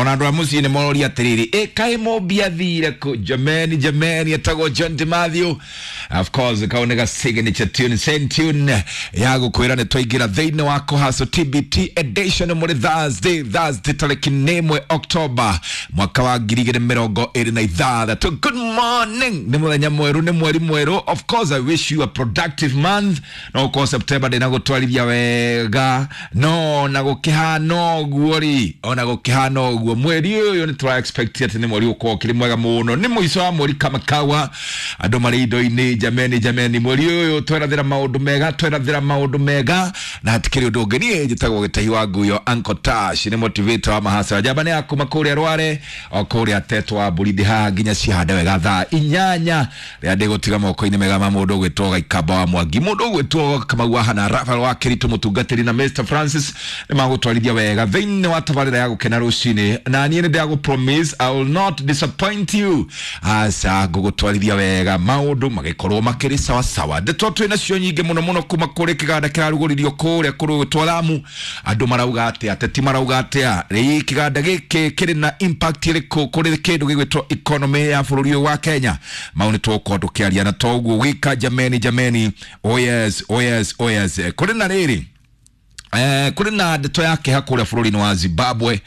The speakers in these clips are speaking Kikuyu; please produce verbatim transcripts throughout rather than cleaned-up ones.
Ona andũ a mũciĩ nĩ mororia atĩrĩrĩ, ĩ kaĩ Mũmbi athire kũ? Jameni, jameni, etagwo John DiMathew. Of course kau nĩ ga signature tune, same tune ya gũkwĩra nĩ twaingĩra thĩinĩ wa kũhaco T B T edition mũrĩ Thursday, Thursday tarĩki nĩ ĩmwe October mwaka wa ngiri igĩrĩ mĩrongo ĩrĩ na ithathatũ. Good morning, nĩ mũthenya mwerũ, nĩ mweri mwerũ. Of course I wish you a productive month. No ũkorwo September ndĩnagũtwarithia wega, no na gũkĩhana ũguo rĩ, ona gũkĩhana ũguo mweri ũyũ nĩ tũra expect atĩ nĩ mweri ũkorwo ũkĩrĩ mwega mũno. Nĩ mũico wa mweri kama kawa, andũ marĩ indo-inĩ. Jameni, jameni, mweri ũyũ twerathĩra maũndũ mega, twerathĩra maũndũ mega na hatikĩrĩ ũndũ ũngĩ. Niĩ njĩtagwo Gĩtahi wa Nguyo, Uncle Tash, nĩ motivator wa mahasa njamba nĩ ya kuma kũrĩa Rware o kũrĩa Tetwa wa mbũri ndĩ haha nginya cihande wega thaa inyanya rĩrĩa ndĩgũtiga moko-inĩ mega ma mũndũ ũgwĩtwo Gaikamba wa Mwangi, mũndũ ũgwĩtwo Kamau wa Hana, Rafael wa Kĩritũ, mũtungatĩri na Mister Francis nĩ magũtwarithia wega thĩinĩ wa tabarĩra ya gũkena rũcinĩ. Na niĩ nĩ ndĩragũ promise I will not disappoint you, aca ngũgũtwarithia wega maũndũ magĩkorwo makĩrĩ sawa sawa. Ndeto twĩ nacio nyingĩ mũno mũno kuma kũrĩ kĩganda kĩrarugũririo kũrĩa kũrĩ Lamu. Andũ marauga atĩa? Ateti marauga atĩa? Rĩ kĩganda gĩkĩ kĩrĩ na impact ĩrĩkũ kũrĩ kĩndũ gĩgwĩtwo economy ya bũrũri ũyũ wa Kenya? Mau nĩ tũgũkorwo tũkĩaria na toguo wika. Jameni, jameni, oh yes, oh yes, oh yes. Kũrĩ na rĩrĩ, Eh, kũrĩ na ndeto ya kĩeha kũrĩa bũrũri-inĩ wa Zimbabwe.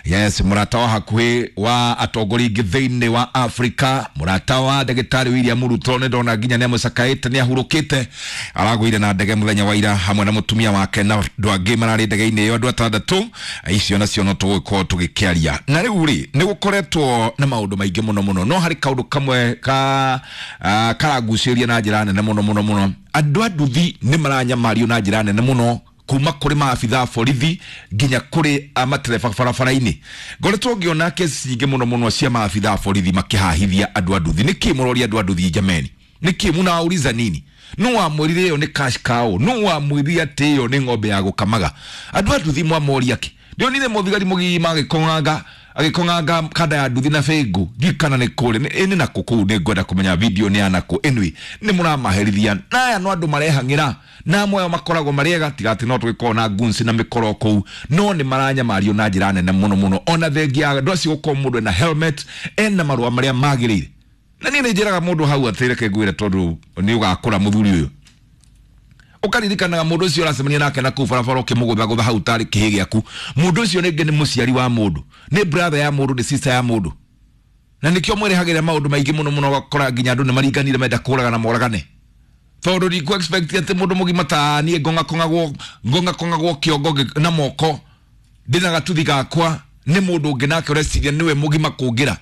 Yes, mũrata wa hakuhĩ wa atongoria aingĩ thĩinĩ wa Afrika, mũrata wa ndagĩtarĩ William Ruto, nĩ ndona nginya nĩ amũcakaĩte, nĩ ahurũkĩte, aragũire na ndege mũthenya wa ira hamwe na mũtumia wake na andũ angĩ mararĩ ndege-inĩ ĩyo, andũ atandatũ. Icio nacio no tũgũkorwo tũgĩkĩaria. Na rĩu rĩ, nĩ gũkoretwo na maũndũ maingĩ mũno mũno, no harĩ kaũndũ kamwe ka uh, karagucĩrĩria na njĩra nene mũno mũno mũno. Andũ a nduthi nĩ maranyamario na njĩra nene mũno kuma kũrĩ maabitha borithi nginya kũrĩ matereba barabara-inĩ. Ngoretwo ngĩona kesi nyingĩ mũno mũno cia maabitha borithi makĩhahithia andũ a nduthi. Nĩkĩ mũroria andũ a nduthi jameni? Nĩkĩ mũnauriza nini? No wamwĩrire ĩyo nĩ cash cow, no wamwĩrire atĩ ĩyo nĩ ng'ombe ya gũkamaga. Andũ a nduthi mwamoria kĩ? Ndionire mũthigari mũgima agĩkong'anga agĩkong'anga kanda ya nduthi na bĩngũ, ndiũĩ kana nĩ kũrĩ ĩnĩ nakũ kũu, nĩ ngwenda kũmenya video nĩ ya nakũ. Anyway, nĩ mũramaherithia na aya no andũ marehang'ĩra na amwe ao makoragwo marĩ ega, tiga atĩ no tũgĩkorwo na guns na mĩkoro kũu, no nĩ maranyamario na njĩra nene mũno mũno. Ona thengia ya andũ acio gũkorwo mũndũ ena helmet, ena marũa marĩa magĩrĩire. Na niĩ nĩ njĩraga mũndũ hau atĩ reke ngwĩre, tondũ nĩ ũgakũra mũthuri ũyũ, ũkaririkanaga mũndũ ũcio ũracemania nake na kũu barabara ũkĩmũgũthagũtha hau tarĩ kĩhĩ gĩaku. Mũndũ ũcio rĩngĩ nĩ mũciari wa mũndũ, nĩ brother ya mũndũ, nĩ sister ya mũndũ, na nĩkĩo mwĩrehagĩra maũndũ maingĩ mũno mũno, ũgakora nginya andũ nĩ maringanire menda kũragana moragane, tondũ ndikũ expect atĩ mũndũ mũgima ta niĩ ngong'akong'agwo ngong'akong'agwo kĩongo na moko ndĩna gatuthi gakwa nĩ mũndũ ũngĩ nake ũreciria nĩwe mũgima kũngĩra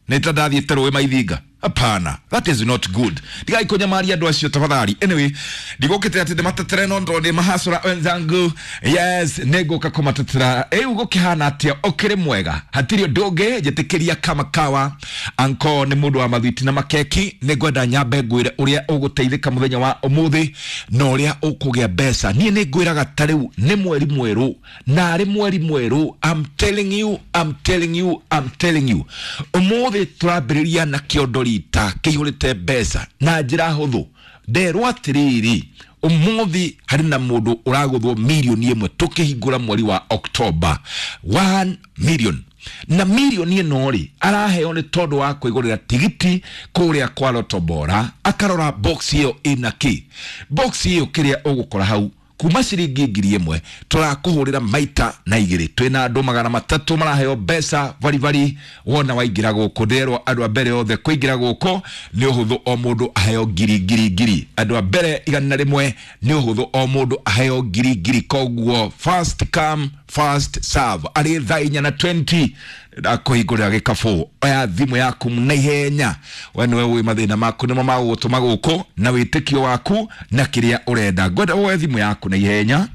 nĩ ta ndathiĩte rũĩ maithinga. Hapana, that is not good. Ndigai kunyamaria andũ acio tafadhali. Anyway, ndigũkĩte atĩ ndĩmatetere no ndona nĩ mahasũra wenzangu. Yes, nĩngũka kũmatetera. Rĩu gũkĩhana atĩa? Ũkĩrĩ mwega, hatirĩ ũndũ ũngĩ njĩtĩkĩria kama kawa. Anko nĩ mũndũ wa mathwiti na makeki. Nĩngwenda nyambe ngwĩre ũrĩa ũgũteithĩka mũthenya wa ũmũthĩ na ũrĩa ũkũgĩa mbeca. Niĩ nĩngwĩraga ta rĩu nĩ mweri mwerũ, na arĩ mweri mwerũ, I'm telling you, I'm telling you, I'm telling you, ũmũthĩ tũrambĩrĩria na kĩondo ta kĩihũrĩte mbeca na njĩra hũthũ. Nderwo atĩrĩrĩ, ũmũthĩ harĩ na mũndũ ũragũthwo mirioni ĩmwe tũkĩhingũra mweri wa October, one million. Na mirioni ĩno rĩ, araheo nĩ tondũ wa kwĩgũrĩra tigiti kũrĩa kwa Lotto Bora, akarora box ĩyo ĩna kĩ. Box ĩyo kĩrĩa ũgũkora hau kuma ciringi ngiri ĩmwe tũrakũhũrĩra maita na igĩrĩ. Twĩna andũ magana matatũ maraheo mbeca baribari wona waingĩra gũkũ. Nderwo andũ a mbere othe kũingĩra gũkũ nĩ ũhũthũ, o mũndũ aheo ngiri ngiri ngiri. Andũ a mbere igana rĩmwe nĩ ũhũthũ, o mũndũ aheo ngiri ngiri. Koguo first come first serve. Arĩ thaa inya na twenty ndakũhingũrĩra gĩkabũ. Oya thimũ yaku na ihenya, we nĩwe ũĩ mathĩna maku nĩmo magũgũtũma gũkũ na wĩtĩkio waku na kĩrĩa ũrenda. Ngwenda woe thimũ yaku na ihenya,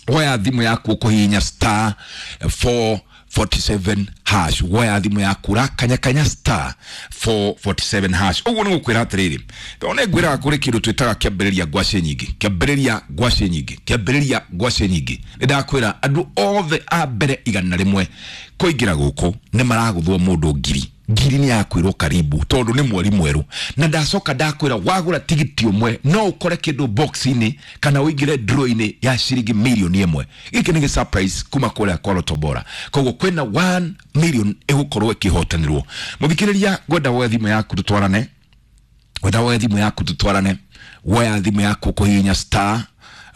woya thimũ yaku ũkũhihinya star four forty-seven hash. Woya thimũ yaku rakanyakanya star four forty-seven hash. Ũguo nĩ gũkwĩra atĩrĩrĩ, tondũ nĩ ngwĩraga kũrĩ kĩndũ twĩtaga kĩambĩrĩria ngwacĩ nyingĩ, kĩambĩrĩria ngwacĩ nyingĩ, kĩambĩrĩria ngwacĩ nyingĩ. Nĩ ndakwĩra andũ othe a mbere igana rĩmwe kũingĩra gũkũ nĩ maragũthwo mũndũ ngiri. Ngiri nĩ yakwĩrwo karibu tondũ nĩ mweri mwerũ, na ndacoka ndakwĩra wagũra tigiti ũmwe no ũkore kĩndũ box-inĩ kana ũingĩre draw-inĩ ya ciringi mirioni ĩmwe. Gĩkĩ nĩ gĩ surprise kuma kũrĩa kwa Lotto Bora. Koguo kwĩna one million ĩgũkorwo ĩkĩhotanĩrwo. Mũthikĩrĩria, ngwenda woe thimũ yaku tũtwarane, ngwenda woe thimũ yaku tũtwarane. Woya thimũ yaku kũhihinya star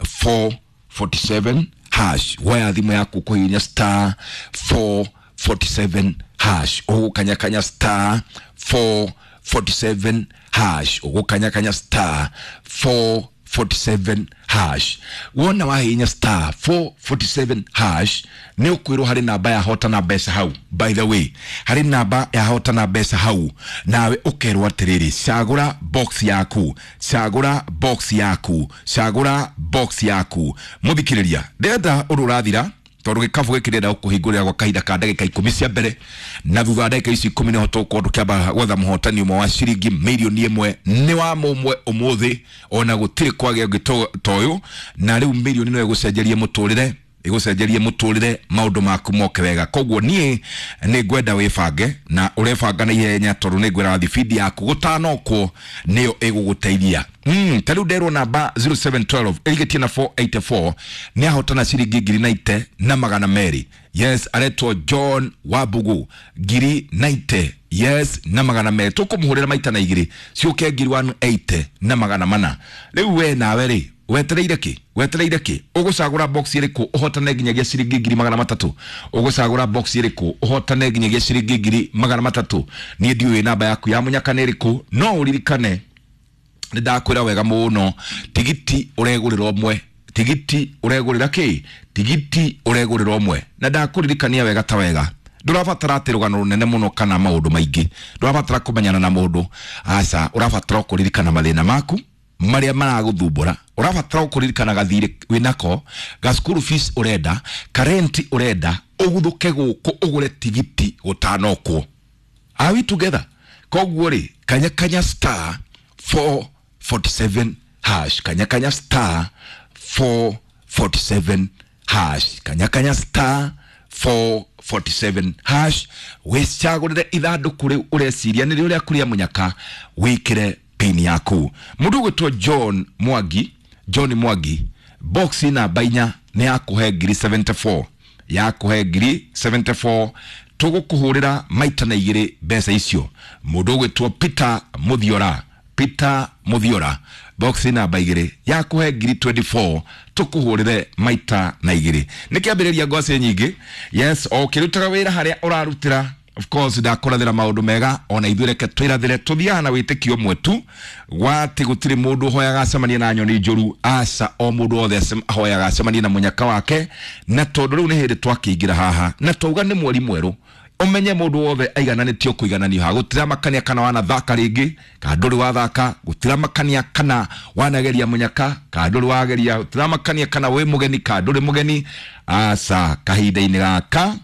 four forty-seven hash. Woya thimũ yaku kũhihinya star four forty-seven hash. Ũgũkanyakanya star four forty-seven hash. Ũgũkanyakanya star four forty-seven hash. Wona wahihinya star four forty-seven hash nĩ ũkwĩrwo harĩ namba ya hotana mbeca hau. By the way, harĩ namba ya hotana mbeca hau, nawe ũkerwo atĩrĩrĩ, cagũra box yaku, cagũra box yaku, cagũra box yaku. Mũthikĩrĩria, ndĩrenda ũndũ ũrathira tondũ gĩkabũ gĩkĩ ndĩrenda gũkũhingũrĩra gwa kahinda ka ndagĩka ikũmi cia mbere, na thutha wa ndagĩka ici ikũmi nĩho tũgũkorwo tũkĩamba gwetha mũhotani ũmwe wa ciringi mirioni ĩmwe. Nĩ wa mũmwe ũmũthĩ, ona gũtirĩ kwagĩa ũngĩ ta ũyũ, na rĩu mirioni no ĩgũcenjerie mũtũrĩre, ĩgũcenjerie mũtũrĩre, maũndũ maku moke wega. Koguo niĩ nĩ ngwenda wĩbange na ũrebanga na ihenya tondũ nĩ ngwĩra thibindi yaku gũtanokwo nĩyo ĩgũgũteithia. Mm, ta rĩu nderwo namba zero seven twelve ĩrigĩtie na four eighty-four nĩ ahotana ciringi ngiri naite na magana merĩ. Yes, aretwo John Wambugu, ngiri naite, yes, na magana merĩ. Tũkũmũhũrĩra maita na igĩrĩ ciũke ngiri one eighty na magana mana. Rĩu we nawe rĩ, wetereire kĩ? Wetereire kĩ? Ũgũcagũra box ĩrĩkũ ũhotane nginyagia ciringi ngiri magana matatũ? Ũgũcagũra box ĩrĩkũ ũhotane nginyagia ciringi ngiri magana matatũ? Niĩ ndiũĩ namba yaku ya mũnyaka nĩ ĩrĩkũ, no ũririkane nĩ ndakwĩra wega mũno, tigiti ũregũrĩra ũmwe, tigiti ũregũrĩra kĩ? Tigiti ũregũrĩra ũmwe. Na ndakũririkania wega ta wega, ndũrabatara atĩ rũgano rũnene mũno kana maũndũ maingĩ, ndũrabatara kũmenyana na mũndũ, aca, ũrabatara kũririkana mathĩna maku marĩa maragũthumbũra, ũrabatara kũririkana gathirĩ wĩnako, ga school fees ũrenda, ka rent ũrenda, ũguthũke gũkũ ũgũre tigiti gũtanokwo. Are we together? Koguo rĩ, kanyakanya star four forty-seven hash, kanyakanya star four forty-seven hash, kanyakanya star four forty-seven hash, wĩcagũrĩre ithandũkũ rĩu ũreciria nĩrĩo rĩaku rĩa mũnyaka, wĩkĩre pin yaku. Mũndũ ũgwĩtwo John Mwangi, John Mwangi, box namba inya nĩ yakũhe ngiri seventy-four, yakũhe ngiri seventy-four, tũgũkũhũrĩra maita na igĩrĩ mbeca icio. Mũndũ ũgwĩtwo Peter Muthiora, Peter Muthiora, box namba igĩrĩ yakũhe ngiri twenty-four, tũkũhũrĩre maita na igĩrĩ. Nĩ kĩambĩrĩria ngwacĩ nyingĩ. Yes, o ũkĩrutaga wĩra harĩa ũrarutĩra, of course ndakũrathĩra maũndũ mega, ona ithuĩ reke twĩrathĩre, tũthiaga na wĩtĩkio ũmwe tu gwatĩ gũtirĩ mũndũ ũhoyaga acemanie na nyoni njũru, aca, o mũndũ wothe ahoyaga acemanie na mũnyaka wake. Na tondũ rĩu nĩ hĩndĩ twakĩingĩra haha na twauga nĩ mweri mwerũ, ũmenye mũndũ wothe aigananĩtio kũigananio haha, gũtiramakania kana wanathaka rĩngĩ kana ndũrĩ wathaka, gũtiramakania kana wanageria mũnyaka kana ndũrĩ wageria, gũtiramakania kana wĩ mũgeni kana ndũrĩ mũgeni, aca, kahinda-inĩ gaka,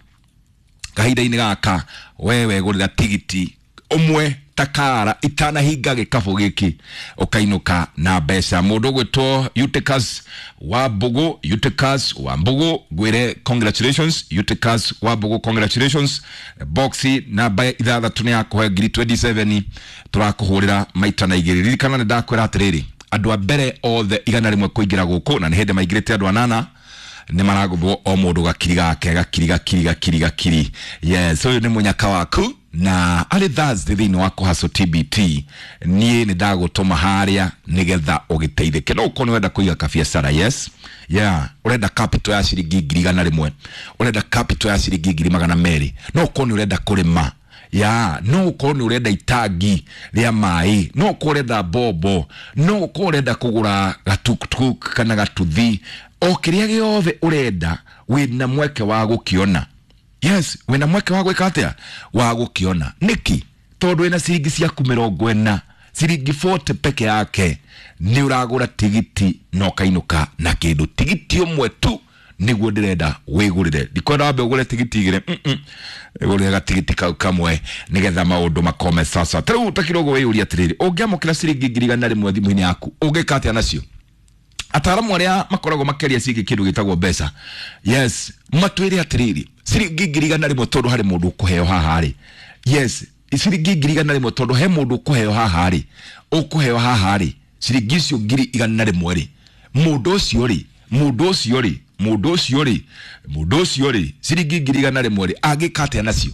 kahinda-inĩ gaka we wegũrĩra tigiti ũmwe takara itanahinga gĩkabũ gĩkĩ ũkainũka na mbeca. Mũndũ ũgwĩtwo Eutychus Wambugu, Eutychus Wambugu, ngwĩre congratulations. Eutychus Wambugu, congratulations. Box namba ithathatũ nĩ yakũhe ngiri twenty-seven, tũrakũhũrĩra maita na igĩrĩ. Ririkana nĩ ndakwĩra atĩrĩrĩ, andũ a mbere othe igana rĩmwe kũingĩra gũkũ, na nĩ hĩndĩ maingĩrĩte andũ anana, nĩ maragũthwo o mũndũ gakiri gake, gakiri, gakiri, gakiri, gakiri. Yes, ũyũ nĩ mũnyaka waku, na arĩ Thursday thĩinĩ wa Kũhaco T B T, niĩ nĩ ndagũtũma harĩa nĩgetha ũgĩteithĩke. No ũkorwo nĩ ũrenda kũiga kabiacara, yes, yeah, ũrenda capital ya ciringi ngiri igana rĩmwe, ũrenda capital ya ciringi ngiri magana merĩ, no ũkorwo nĩ ũrenda kũrĩma, ya, no ũkorwo nĩ ũrenda itangi rĩa maĩ, no ũkorwo ũrenda mbombo, no ũkorwo ũrenda kũgũra gatukutuku kana gatuthi, o kĩrĩa gĩothe ũrenda wĩna mweke wa gũkĩona. Yes, wĩna mweke wa gwĩka atĩa? Wa gũkĩona. Nĩkĩ? Tondũ wĩna ciringi ciaku mĩrongo ĩna, ciringi forty peke yake, nĩ ũragũra tigiti na ũkainũka na kĩndũ. Tigiti ũmwe tu nĩguo ndĩrenda wĩgũrĩre. Ndikwenda wambe ũgũre tigiti igĩrĩ, mm-mm. Wĩgũrĩre gatigiti kau kamwe nĩgetha maũndũ makome sasa. Ta rĩu ta kidogo wĩyũrie atĩrĩrĩ, ũngĩamũkĩra ciringi ngiri igana rĩmwe thimũ-inĩ yaku, ũngĩka atĩa nacio? Ataaramu arĩa makoragwo makĩaria ciĩgiĩ kĩndũ gĩtagwo mbeca, yes, matwĩre atĩrĩrĩ, ciringi ngiri igana rĩmwe tondũ harĩ mũndũ ũkũheo haha rĩ, yes, Ciringi ngiri igana rĩmwe, tondũ he mũndũ ũkũheo haha rĩ, ũkũheo haha rĩ ciringi icio ngiri igana rĩmwe rĩ, mũndũ ũcio rĩ, mũndũ ũcio rĩ, mũndũ ũcio rĩ, mũndũ ũcio rĩ, ciringi ngiri igana rĩmwe rĩ, angĩka atĩa nacio?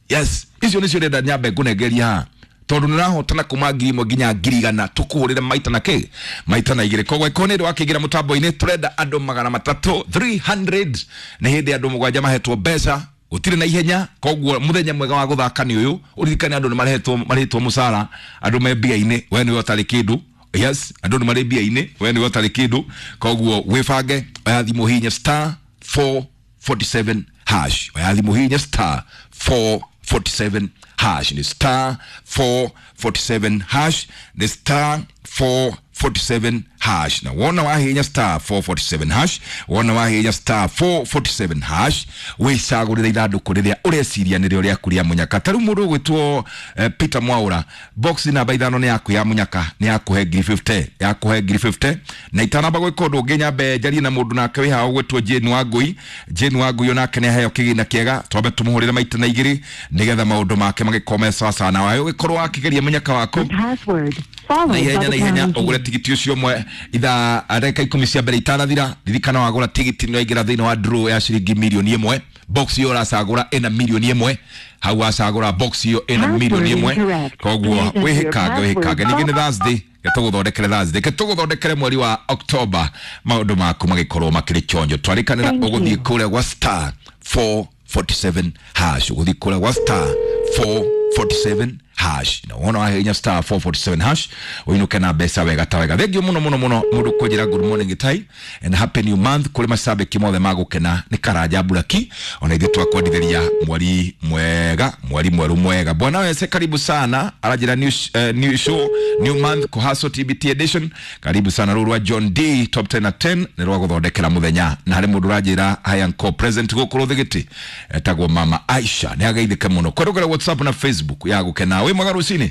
Yes, icio nĩcio ndĩrenda nyambe ngũnengeria haha, tondũ nĩrahotana kuma ngiri ĩmwe nginya ngiri igana, tũkũhũrĩre maita na kĩ, maita na igĩrĩ. Koguo ĩkorwo nĩ ũndũ wa kĩingĩra mũtambo-inĩ, tũrenda andũ magana matatũ, three hundred, nĩ hĩndĩ andũ mũgwanja mahetwo mbeca, gũtirĩ na ihenya. Koguo mũthenya mwega wa gũthaka nĩ ũyũ. Ũririkane andũ nĩ marehetwo, marĩhĩtwo mũcara, andũ me mbia-inĩ, we nĩwe ũtarĩ kĩndũ. Yes, andũ nĩ marĩ mbia-inĩ, we nĩwe ũtarĩ kĩndũ. Koguo wĩbange, oya thimũ, hihinya star four forty seven hash. Oya thimũ, hihinya star four forty seven hash, nĩ star four forty seven hash, nĩ star four forty seven hash. Na wona wahihinya star four forty seven hash, wona wahihinya star four forty seven hash, wĩcagũrĩre ithandũkũ rĩrĩa ũreciria nĩrĩo rĩaku rĩa mũnyaka. Ta rĩu mũndũ ũgwĩtwo eh, Peter Mwaura, box namba ithano nĩ yaku ya mũnyaka, nĩ yakũhe ngiri fifty, yakũhe ngiri fifty. Na itanamba gwĩka ũndũ ũngĩ, nyambe njarie na mũndũ nake wĩ haha ũgwĩtwo Jane Wangui. Jane Wangui onake nĩ aheo kĩgĩna kĩega, twambe tũmũhũrĩre maita na igĩrĩ nĩgetha maũndũ make magĩkorwo me sawa sawa. Na ũgĩkorwo wakĩgeria mũnyaka waku Password na followed by ihenya the na ihenya pound key. ũgũre tigiti ũcio ũmwe ithaa ndagĩka ikũmi cia mbere itanathira. Ririkana wagũra tigiti nĩ waingĩra thĩinĩ wa draw ya ciringi mirioni ĩmwe. Box ĩyo ũracagũra ĩna mirioni ĩmwe, hau wacagũra box ĩyo ĩna Password mirioni ĩmwe. incorrect. Koguo Please enter your wĩhĩkange, wĩhĩkange. password. Ningĩ nĩ Thursday, ketũgũthondekere Thursday, ketũgũthondekere mweri wa October, maũndũ maku magĩkorwo makĩrĩ chonjo. Twarĩkanĩra Thank ũgũthiĩ you. kũrĩa gwa star four forty seven hash, ũgũthiĩ kũrĩa gwa star four forty seven hash, na wona wahihinya star four forty seven hash ũinũke na mbeca wega ta wega. Thengiũ mũno mũno mũno mũndũ kũnjĩra good morning Gĩtai and happy new month kũrĩ macambĩki mothe magũkena nĩ Karanja Buraki. Ona ithuĩ twakwendithĩria mweri mwega, mweri mwerũ mwega. Bwana wese, karibu sana. Aranjĩra new, uh, new show, new month, Kuhaso T B T edition, karibu sana. Rũrũ rwa John D top ten na ten nĩ rwa gũthondekera mũthenya. Na harĩ mũndũ ũranjĩra hi uncle present gũkũ Rũthigĩtĩ, etagwo Mama Aisha, nĩ ageithĩke mũno kwerũkĩra WhatsApp na Facebook ya gũkena. Wĩ mwega rũcinĩ?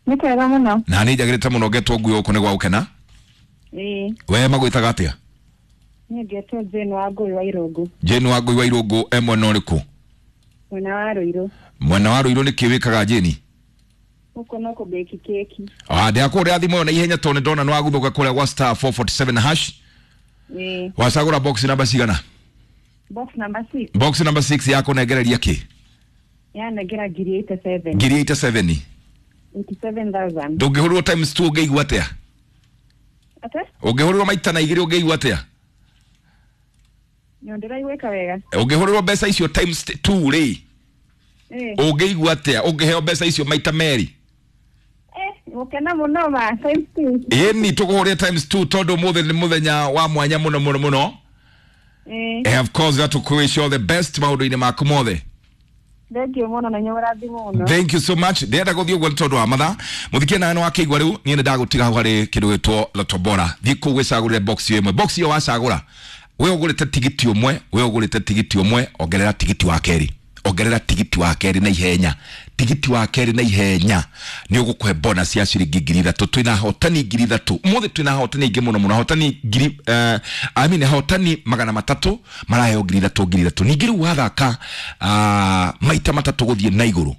Nĩ kwega mũno. Na nĩ njagĩrĩte mũno, ngetwo ngui gũkũ nĩ gwa gũkena. Ĩĩ. We magwĩtaga atĩa? Niĩ ngetwo Jane Wangũi wa Irũngũ. Jane Wangũi wa Irũngũ, e mwena ũrĩkũ? Mwena wa Rũirũ. Mwena wa Rũirũ. Nĩ kĩ wĩkaga, Jane? Gũkũ no kũbĩki keki. Ah, ndĩrakũrĩra thimũ ĩyo na ihenya tondũ nĩ ndona nĩ waguthũka kũrĩa gwa star four forty seven hash. Ĩĩ. Wacagũra box namba cigana? Box number six. Box number six yakũnengereria kĩ? Yanengera ngiri eighty seven. Ngiri eighty seven. Eighty seven thousand. Ndũngĩhũrĩrwo times two ũngĩigua atĩa? Ate? Ũngĩhũrĩrwo maita na igĩrĩ ũngĩigua atĩa? Nĩ ndĩraiguĩka wega. Ũngĩhũrĩrwo mbeca icio times two rĩ, Ĩĩ. ũngĩigua atĩa ũngĩheo mbeca icio maita merĩ? Eh, gũkena mũno ma times two. Ĩni tũkũhũrĩre times two tondũ ũmũthĩ nĩ mũthenya wa mwanya mũno mũno mũno. Ĩĩ. Eh, of course tũkũ all the best maũndũ-inĩ maku mothe. Thank you mũno na inyuĩ mũrathimwo mũno. Thank you so much. Ndĩrenda gũthiĩ ũguo nĩ tondũ wa mathaa. Mũthikie nawe nĩ wakĩigua rĩu, niĩ nĩ ndagũtiga hau harĩ kĩndũ gĩtwo Lotto Bora. Thiĩ kũu wĩcagũrĩre box ĩyo ĩmwe. Box ĩyo wacagũra, we ũgũrĩte tigiti ũmwe, we ũgũrĩte tigiti ũmwe, ongerera tigiti wa kerĩ, ongerera tigiti wa kerĩ na ihenya, tigiti wa kerĩ na ihenya, nĩ ũgũkũhe bonus ya ciringi ngiri ithatũ. Twĩna ahotani ngiri ithatũ ũmũthĩ, twĩna ahotani aingĩ mũno mũno, ahotani ngiri uh, I mean ahotani magana matatũ maraheo ngiri ithatũ, ngiri ithatũ. Ningĩ rĩu wathaka uh, maita matatũ gũthiĩ na igũrũ,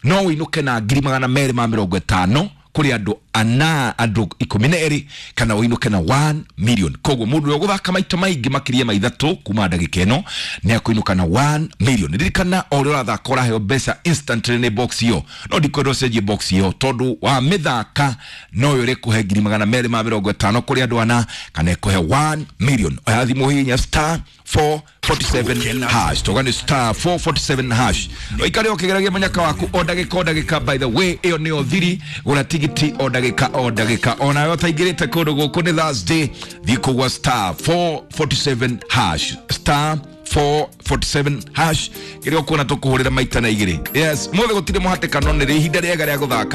no ũinũke na ngiri magana merĩ ma mĩrongo ĩtano kũrĩ andũ ana, andũ ikũmi na erĩ, kana ũinũke na one million. Koguo mũndũ ũrĩa ũgũthaka maita maingĩ makĩria ma ithatũ kuma ndagĩka ĩno nĩ akũinũka na one million. Ririkana o ũrĩa ũrathaka ũraheo mbeca instantly nĩ box ĩyo, no ndikwenda ũcenjie box ĩyo tondũ wa mĩthaka no yo ĩrĩkũhe ngiri magana merĩ ma mĩrongo ĩtano kũrĩ andũ ana kana ĩkũhe one million. Oya thimũ, hihinya star four forty seven hash, toga nĩ star four forty seven hash. Ũikare ũkĩgeragia mũnyaka waku o ndagĩka o ndagĩka. By the way, ĩyo nĩyo thiri, gũra tigiti o ndagĩka o ndagĩka. Onawe ũtaingĩrĩte kũndũ gũkũ nĩ Thursday, thiĩ kũgwa star four forty seven hash, star four forty seven hash, kĩrĩa ũkuona tũkũhũrĩra maita na igĩrĩ. Yes, mũthĩ gũtirĩ mũhatĩkano, nĩ ihinda rĩega rĩa gũthaka.